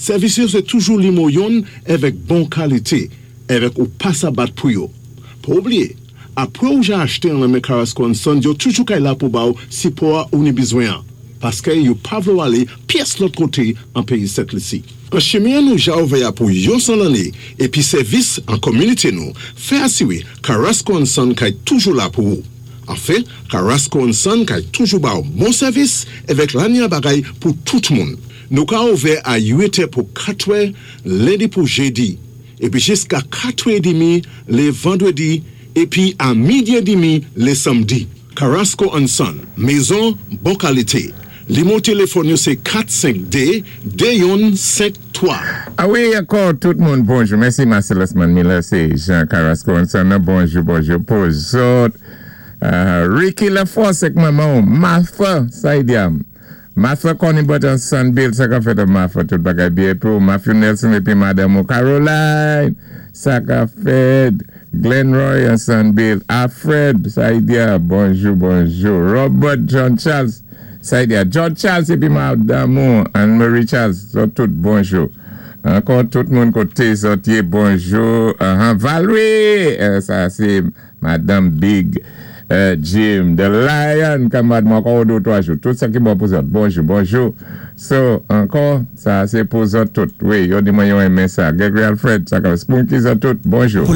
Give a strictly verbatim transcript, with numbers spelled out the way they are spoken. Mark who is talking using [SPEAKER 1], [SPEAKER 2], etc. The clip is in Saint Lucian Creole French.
[SPEAKER 1] Sèvis yo sé toujou nimo youn èvèk bon kalité, èvèk ou pa sa bat pou yo. Pa oubliyé, apwé ou ja achté an nan men Carrasco and Sons, yo toujou kay la pou ba ou sipò ou ni bizwen an. Paské yo pa vlé ou alé pyès lòt koté an péyi Sent Lisi. An chimen nou ja ouvè pou yon san lanné épi sèvis an kominité nou, fè asiwé Carrasco and Son kay toujou la pou ou. Anfen, Carrasco and Son kay toujou ba ou bon sèvis èvèk lanya bagay pou tout moun. Nou ka ouvè a uit è pou katwè lendi pou jédi, épi jiska katwè édmi lé vandwédi, épi a midi édmi lé sanmdi. Carrasco and Son, mézon bon kalité. Nimo téléfòn yo sé kat senk dé, dé youn senk twa.
[SPEAKER 2] A wi, ankò tout moun, bonjou. Mèsi Marcellus Miller, sé Jean Carrasco and Son. Bonjou, bonjou pou zòt. Uh, Ricky Laforce ak manman, Martha, sa i di. Martha Connie Button Son Bill, sa ka fèt Martha, tout bagay byen pou Matthew Nelson épi Madanm Caroline, sa ka fèt Glenroy and Son Bill, Alfred, sa i di, bonjou, bonjou. Robert John Charles, sa i di, John Charles épi Madanm Anne-Marie Charles, zòt tout bonjou. Ankò tout moun koté zòt yé bonjou. Uh, Valerie, euh, sa sé Madanm Big euh, Jim, The Lion, kanmad mwen ankò dé twa jou. Tout sa ki bon pou zòt. Bonjou, bonjou. So, ankò, sa sé pou zòt tout. Wi, yo di mwen yo enmen sa. Gregory Alfred, sa ka Spunky zòt tout. Bonjou.